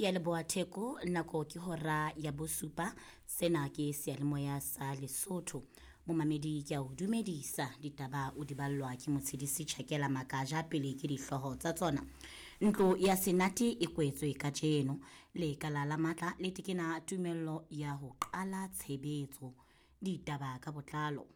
Ke ya leboha Theko, nako ke hora ya bosupa. Sena ke seyalemoya sa Lesotho. Momamedi ke a o dumedisa, ditaba o di ballwa ke Motshedisi Tjhakela Makaja. Pele ke dihlooho tsa tsona. Ntlo ya Senate e kwetswe kajeno. Lekala la matla le tekena tumello ya ho qala tshebetso. Ditaba ka botlalo.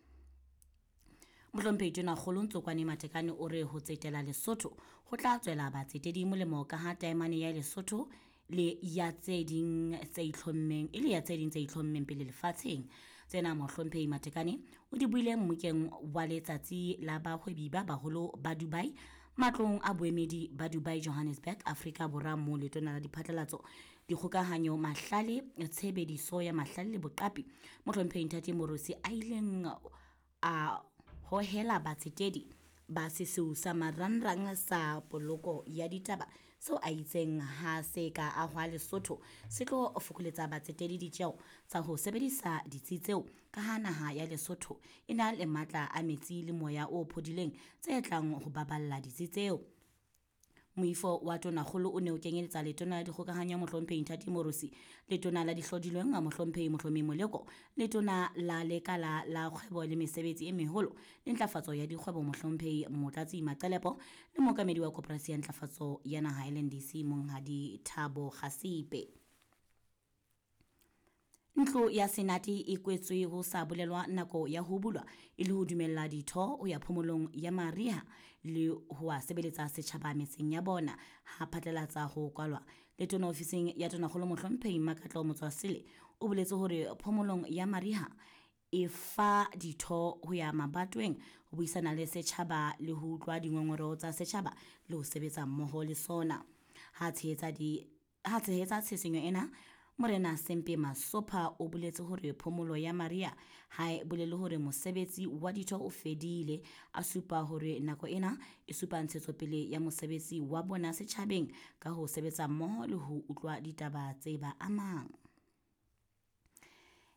Mohlomphehi Tonakgolo Ntsokwane Matekane o re ho tsetela Lesotho ho tla tswela batsetedi molemo ka ha taemane ya Lesotho le ya tse ding tse itlhommeng e le ya tse ding tse itlhommeng pele lefatsheng. Tsena Mohlomphehi Matekane o di buile mmokeng wa letsatsi la bahwebi ba baholo ba Dubai matlong a boemedi ba Dubai Johannesburg Afrika Borwa moo letona la diphatlalatso dikgokahanyo mahlale tshebediso ya mahlale le boqapi Mohlomphehi Ntate Morosi a ileng a hohela batsetedi ba sesiu sa marangrang sa poloko ya ditaba seo a itseng ha se ka ahwa Lesotho se tlo fokoletsa batsetedi ditjeo tsa ho sebedisa ditsi tseo ka ha naha ya Lesotho e na le matla a metsi le moya o phodileng tse tlang ho baballa ditsi tseo. Moifo wa Tonakgolo o ne o kenyeletsa letona la dikgokahanyo Mohlomphehi Nthati Morosi, letona la dihlodilweng Mohlomphehi Mohlomi Moleko, letona la lekala la kgwebo le mesebetsi e meholo le ntlafatso ya dikgwebo Mohlomphehi Motlatsi Maqelepo le mookamedi wa koporasi ya ntlafatso ya naha LNDC Monghadi Thabo Kgasipe. Ntlo ya Senate e kwetswe ho sa bolelwa nako ya ho bulwa e le ho dumella ditho ho ya phomolong ya mariha le ho a sebeletsa setjhaba metseng ya bona ha phatlalatsa ho kwalwa. Letona ofising ya Tonakgolo Mohlomphehi Makatlo Motswasele o boletse hore phomolong ya mariha e fa ditho ho ya mabatoweng ho buisana le setjhaba le ho utlwa dingongoreo tsa setjhaba le ho sebetsa mmoho le sona. Ha tshehetsa di ha tshehetsa tshisinyo ena, Morena Sempe Masopha o boletse hore phomolo ya mariha ha e bolele hore mosebetsi wa ditho o fedile. A supa hore nako ena e supa ntshetsopele ya mosebetsi wa bona setjhabeng ka ho sebetsa mmoho le ho utlwa ditaba tse ba amang.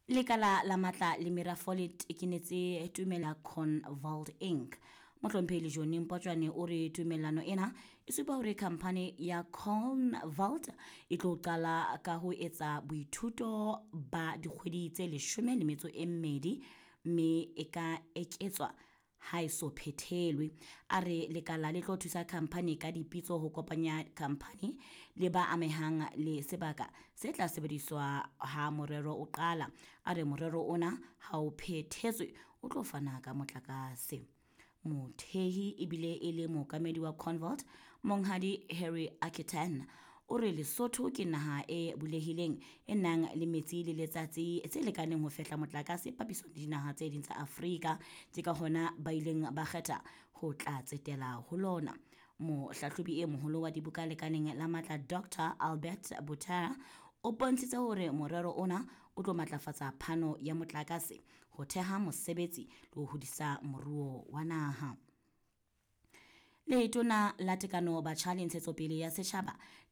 Lekala la matla le merafo le tekenetse tumela Convalt Inc. Mohlomphehi Lejone Mpotjwane o re tumellano ena e supa hore khamphani ya Convalt e tlo qala ka ho etsa boithuto ba dikgwedi tse 12 mme e ka eketswa ha e so phethelwe. A re lekala le tlo thusa khamphani ka dipitso ho kopanya khamphani le ba amehang le sebaka se tla sebediswa ha morero o qala. A re morero ona ha o phethetswe o tlo fana ka motlakase. Mothehi ebile e le mookamedi wa Convalt Monghadi Harry Akitan o re Lesotho ke naha e bulehileng e nang le metsi le letsatsi tse lekaneng ho fehla motlakase papisong le dinaha tse ding tsa Afrika. Ke ka hona ba ileng ba kgetha ho tla tsetela ho lona. Mohlahlobi e moholo wa dibuka lekaleng la matla Dr Albert Butara o bontshitse hore morero ona o tlo matlafatsa phano ya motlakase, ho theha mosebetsi le ho hodisa moruo wa naha. Letona la Tekano Batjha le Ntshetsopele ya Setjhaba